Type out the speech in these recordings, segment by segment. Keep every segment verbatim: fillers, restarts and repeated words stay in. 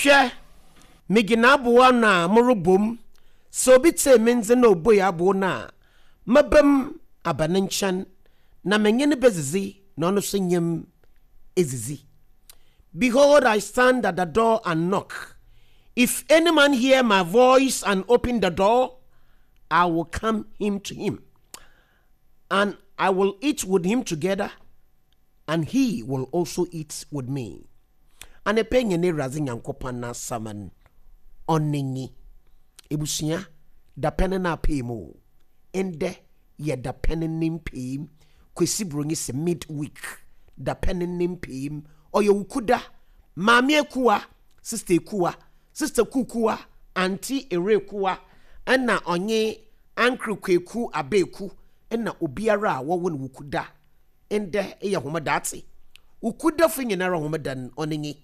Hwɛ, migyina abow ano a morobɔ mu. Sɛ obi tsie me ndze na obue abow no a, mɛba mu aba ne nkyɛn, na menye no bedzidzi, na ɔno nso nye m edzidzi. Behold, I stand at the door and knock. If any man hear my voice and open the door, I will come him to him, and I will eat with him together, and he will also eat with me. Anɔpa nye ne Awurade Nyankopɔn n'asɛm no, ɔno nyi. Ebusua, dapɛn no apee mu o. Ndɛ yɛ dapɛn ne mpem. Kwesi Buronyi sɛ midweek. Dapɛn ne mpem. Ɔyɛ wukuda. Maame Ekuwa, Sister Ekuwa, Sister Kukuwa, Auntie Erekuwa, ɛna ɔnye Uncle Kweku Abeeku, ɛna obiara a wɔwɔ no wukuda. Ndɛ yɛ homeda ate. Wukudafo nyinara homeda no ɔno nyi.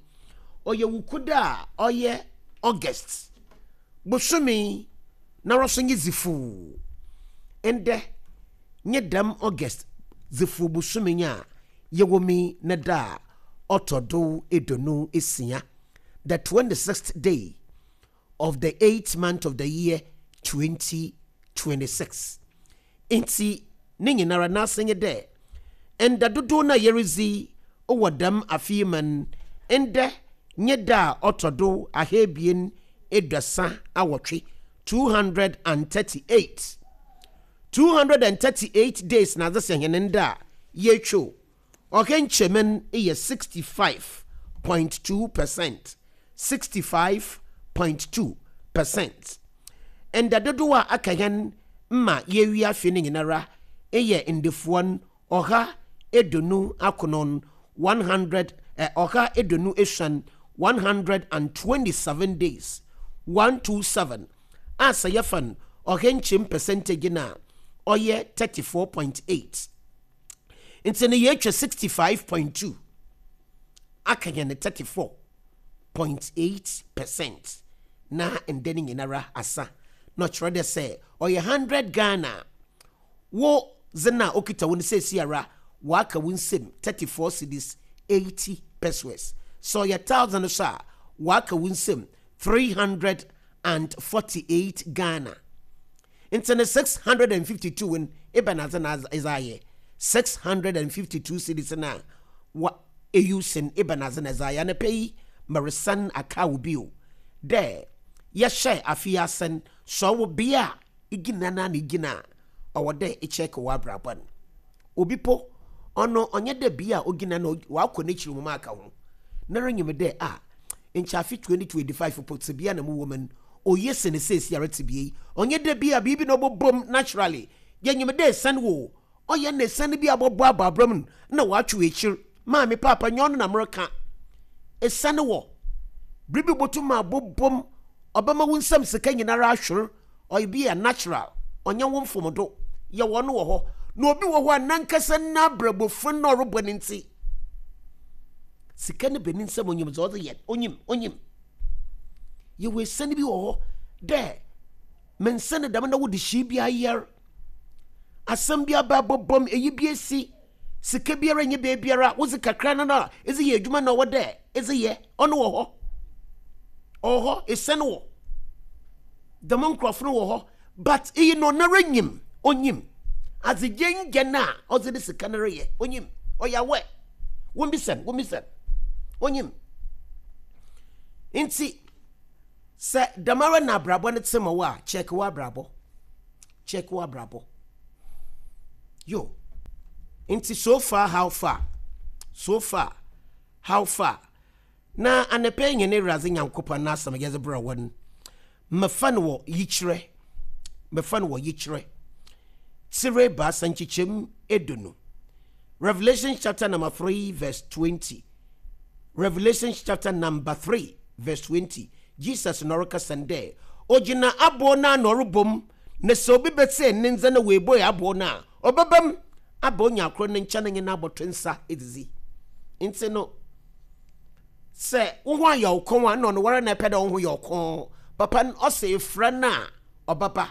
Ɔyɛ wukuda a ɔyɛ August. Bosome na ɔso nye dzifuu. Ndɛ nye dɛm August dzifuu bosome yi a yɛwɔ mi ne da a ɔtɔ do eduonu esia. The twenty-sixth day of the eighth month of the year twenty twenty-six. Nti ne nyinara n'ase nye dɛ nda dodow no a yɛredzi wɔ dɛm afe yi mu no, ndɛ nye da a ɔtɔ do ahaebien eduasa awɔtwe, two hundred and thirty-eight. two hundred and thirty-eight days na adze sɛ hɛn nda a yɛtwa ɔhɛ nkyɛmu no yɛ sixty-five point two percent, sixty-five point two percent. Nda dodow a aka hɛn ma yɛwie afe no nyinara yɛ ndefoɔ no ɔha eduonu akron, one hundred eh, ɔha eduonu esuon, one hundred and twenty-seven days, one hundred and twenty-seven a sɛ yɛfa no ɔhɛ nkyɛm percentage no a, ɔyɛ thirty-four point eight. Nti no yɛatwa sixty-five point two, aka yɛn thirty-four point eight percent na ndɛ no nyinara asa. Na ɔkyerɛ dɛ sɛ ɔyɛ hundred Ghana wo dze no a okita wo no seesi ara, waka wo nsam thirty-four cedis eighty pesewas. Sɛ ɔyɛ thousand so a, waka wo nsam three hundred and forty-eight Ghana. Nti no six hundred and fifty-two no, ebɛn adze na ɛdze ayɛ six hundred and fifty-two cedis no a wa eyu sen? Ebɛn adze na ɛdze ayɛ? Anɔpa yi meresan aka wo bio dɛ yɛhyɛ afe asen sɛ ɔwɔ bea a igyina na na igyina a ɔwɔ dɛ ekyɛke wɔ abrabɔ no. Obi po ɔno ɔnyɛ dɛ bea a ogyina no wakɔ n'ekyir mu aka ho na renyim dɛ a nkyɛ afe twenty twenty-five po tebea na mu wɔ mu no oye sene seesi ara tebea yi. Ɔnyɛ dɛ bia biribi na ɔbɛbom naturally. Yɛnyim dɛ esan wo ɔyɛ na esan bi a bɔbɔ aba abram no na watwe ekyir. Maame, paapa, nyɛ ɔno na mereka. Esan wɔ biribi botum abobom, ɔbɛma wo nsam sika nyinara ahwere. Ɔyɛ bi a natural, ɔnyɛ wo mfomdo. Yɛwɔ no wɔ hɔ na obi wɔ hɔ a nankasa n'abrabɔfo na ɔrebɔ ne nti sika no bɛ ne nsam, onyim dza ɔdze yɛ, onyim onyim. Yɛwɔ esiane bi wɔ hɔ dɛ mensa ne dɛm na wode hyii bi ayɛr asɛm bi aba abɔbɔm, eyi bi esi, sika biara nye beebiara wodze kakra no na edze yɛ adwuma na ɔwɔ dɛ edze yɛ. Ɔno wɔ hɔ, ɔwɔ hɔ. Esiane wɔ dɛm nkurɔfo no wɔ hɔ, but iyi no ɔnara nyim, onyim adze gyengya no a ɔdze de sika no reyɛ, onyim, ɔyɛ awɛ. Wɔmbisa no, wɔmbisa no, onyim. Nti sɛ dɛm na abrabɔ no te ma wo a, check wo abrabɔ, check wo abrabɔ yo. Nti so far how far, so far how far? Na anɔpa yi nyɛ ne Awurade Nyankopɔn n'asɛm yɛdze brɛ wɔn. Mɛfa no wɔ Yikyerɛ, mɛfa no wɔ Yikyerɛ tire baasa nkyekyɛm edonu, Revelation chapter number three verse twenty. Revelation chapter number three verse twenty. Jesus na ɔrekasa dɛ ogyina aboɔ no a na ɔrebom, na sɛ obi bɛsɛ ne nsa na wɔebɔ aboɔ no a, ɔbɛbam aba onya akoro ne nkyɛn nye n'abɔto nsa edidi. Nti no sɛ wo ho ayɛ wo kɔn a, na ɔno wara na ɛpɛ dɛ wo ho yɛ ɔkɔn papa no, ɔsɛ efra no a ɔbaba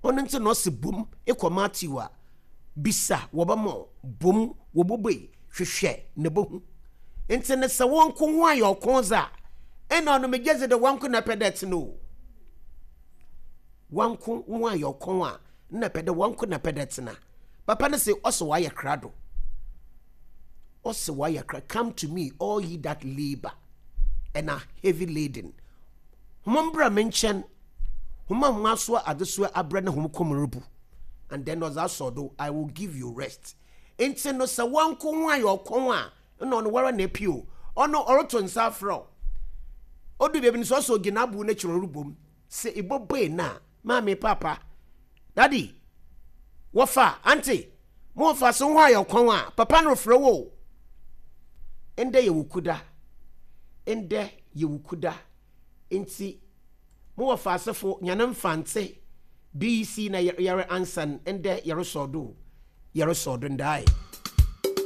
ɔno. Nti na ɔsɛ bom ekɔ Matthew a, bisa wɔbɛma, bom wɔbɔbɔi, hwehwɛ na bohu. Nti ne sɛ wɔn ko ho ayɛ ɔko dza ɛna ɔno megye dze de wɔn ko na pɛ dɛ tena o. Wɔn ko ho ayɛ ɔko a na pɛ dɛ wɔn ko na pɛ dɛ tena. Papa no sɛ ɔsɛ wɔayɛ krado. Ɔsɛ wɔayɛ krado. Come to me, all ye that labor and are heavy laden. Hom mbra me nkyɛn. Hom a hom asoa adesoa abrɛ ne hom kɔn rebu. And then ɔdze asɔ do, I will give you rest. Nti no sɛ wɔn ko ho ayɛ ɔko a ɛna ɔno wara na epi o. Ɔno ɔreto nsa afrɛ o. Odu baabi no sɛ ɔsɛ ogyina abo n'akyi ɔrebom. Sɛ ibɔbɔe na maame, papa, daddy, wɔfa, auntie, mo wɔfa so ho ayɛ ɔkwan a papa no refrɛ wo. Ndɛ yɛ Wukuda. Ndɛ yɛ Wukuda. Nti mo wɔfa asefo nyane mfante B E C na yɛre ansan ndɛ yɛresɔ do. Yɛresɔ do ndae.